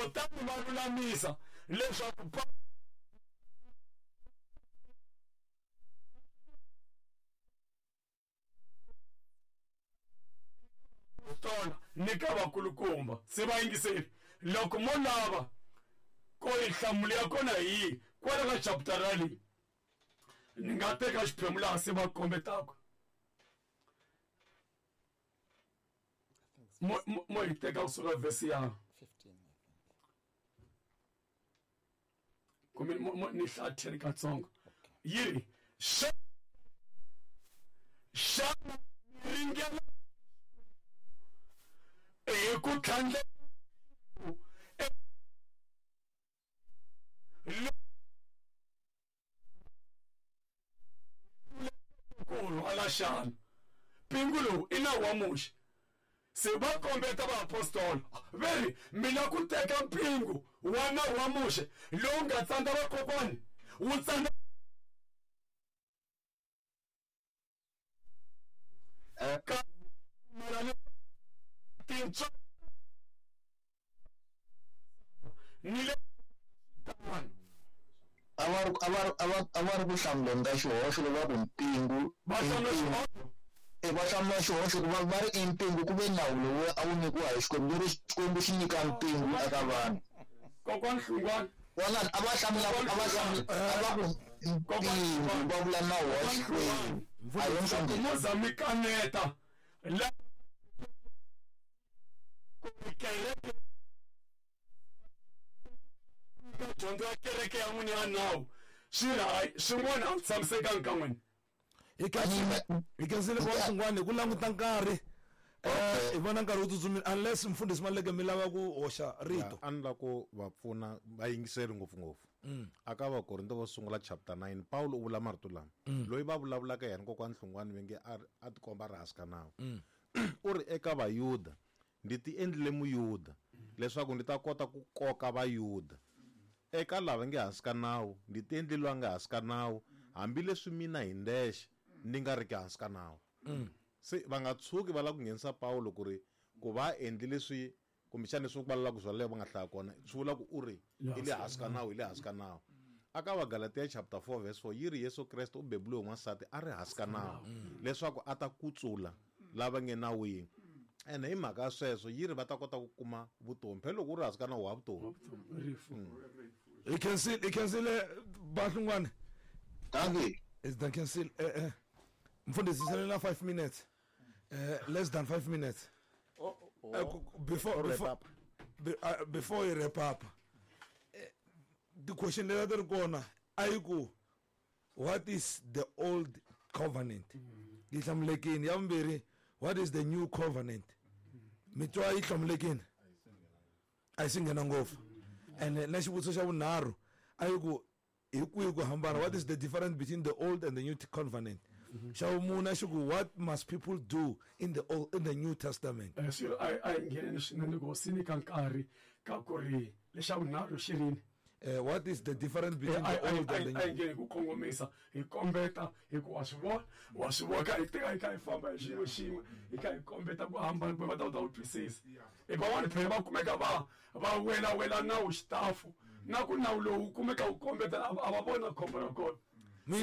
Kutani va lulamisa leswaku tona ni ka vakulukumba se va yingiseli loko mo lava ko yi nhlamulo ya kona hi yihi kwala ka chaputara leyi ni nga teka xiphemu laha se va kombetaka mo yi teka kusuka vhesi ya kumbe ni hlaya 10 katsongo yi ri xana ringela hi ku tlhandla ku rhwala xana mpingu lowu i nawu wa Muxe se va kombeta vaapostola ve ri mi la ku teka mpingu wa nawu wa Muxe lowu nga tsandza vakokwani wu tsandza ka tintswa ni le a va ri ku hlamuleni ka xihoxo loko va ku mpingu va hlamula xihoxo va hlamula xihoxo ku va ri i mpingu ku ve nawu lowu a wu nyikiwa hi Xikwembu leri Xikwembu xi nyika mpingu eka vanhu. Kokwani Hlungwani vona a va hlamula a va hlamula a va ku mpingu va vula nawu wa Xikwembu a hi mfundhisi mo za mi kaneta la kereke ka dyondzo ya kereke ya n'wina ya nawu swi ri hayi swin'wana a swi tshamisekanga ka n'wina. Hi khensile ku swin'wana hi ku languta nkarhi hi vona nkarhi wu tsutsumile unless mfundhisi Maluleke mi lava ku hoxa rito. A ni lava ku va pfuna va yingiseli ngopfungopfu. Aka Vakorinto vo sungula chapter 9 Paulo u vula marito lama loyi va vulavulaka yena kokwani Hlungwani va nge a tikomba a ri hansi ka nawu. U ri eka Vayuda ndzi ti endlile Muyuda leswaku ndzi ta kota ku koka Vayuda. Eka lava nge hansi ka nawu ndzi ti endlile loyi a nga hansi ka nawu hambileswi mina hi ndexe ni nga riki hansi ka nawu. Se va nga tshuki va lava ku nghenisa Paulo ku ri ku va endlile leswi kumbexana leswi va lavaka ku byala va nga hlaya kona swi vula ku u ri i le hansi ka nawu i le hansi ka nawu. Aka Vagalatia chapter 4 verse 4 yi ri Yesu Kreste u bebuliwe n'wansati a ri hansi ka nawu leswaku a ta kutsula lava nge nawini. Ene hi mhaka ya sweswo yi ri va ta kota ku kuma vutomi phela loko u ri hansi ka nawu wa vutomi. Hi khensile Bahlungwane. Dankie. Is the cancel mfundhisi sele na 5 minutes. Less than 5 minutes. Before you wrap up. The question leyi ri kona a yi ku what is the old covenant? Yi hlamulekini. Ya vumbirhi, what is the new covenant? Mitwa yi hlamulekini. A yi si nghena ngopfu. And na xivutiso xa vunharhu a yi ku hi kwihi ku hambana, what is the difference between the old and the new covenant? Xa vumune xi ku what must people do in the old, in the new testament? Swi a yi ngheneni swinene ku swi nyika nkarhi ka ku ri lexa vunharhu xi rini. What is the difference between the old and the new? A yi ngheni ku kongomisa hi kombeta hi ku wa swi vona wa swi vona ka hi teka hi kha hi famba hi xin'we xin'we hi kha hi kombeta ku hambana kumbe va ta kota ku twisisa. Hi van'wani phela va kumeka va wela wela nawu xitafu na ku nawu lowu kumeka wu kombeta a va vona khombo ra kona.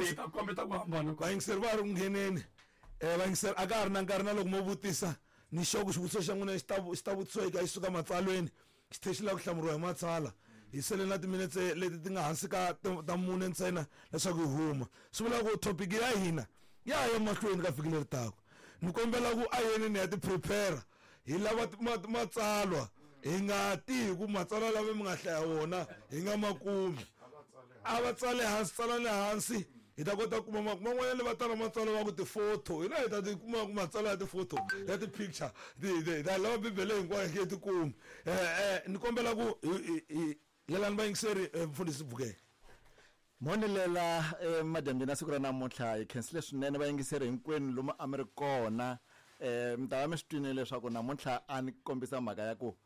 Se ta kombeta ku hambana. Vayingiseri va ri ku ngheneni. Vayingiseri a ka ha ri na nkarhi na loko mo vutisa ni xoko xivutiso xa n'wina xi ta vutisiwa eka xi suka matsalweni xi tlhela xi lava ku hlamuriwa hi matsalwa. Hi sele na timinetse leti ti nga hansi ka ta mune ntsena leswaku hi huma. Swi vula ku topic ya hina ya ya mahlweni ka vhiki leri taka. Ni kombela ku a yeni ni ya ti prepare hi lava matsalwa hi nga ti hi ku matsalwa lama mi nga hlaya wona hi nga makumi. A va tsale hansi, tsalani hansi hi ta kota ku kuma man'wanyana va tala matsalwa va ku ti-photo hina hi ta ti kuma ku matsalwa ya ti-photo ya ti-picture hi ta lava Bibele hinkwayo hi nge ti kumi. Ni kombela ku hi lelani vayingiseri mfundhisi Bukele. Mhonilela madyambyini ya siku ra namuntlha hi khensile swinene vayingiseri hinkwenu lomu a mi ri kona. Mi ta va mi swi twile leswaku namuntlha a ni kombisa mhaka ya ku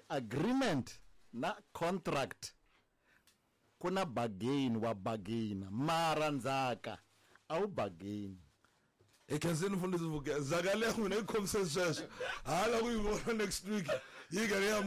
agreement na contract ku na bargain wa bargain mara ndzhaka a wu bargain. Hi khensile mfundhisi Bukele. Ndzhaka leyi n'wina yi khomise sweswo hala ku yi vona next week yi karhi ya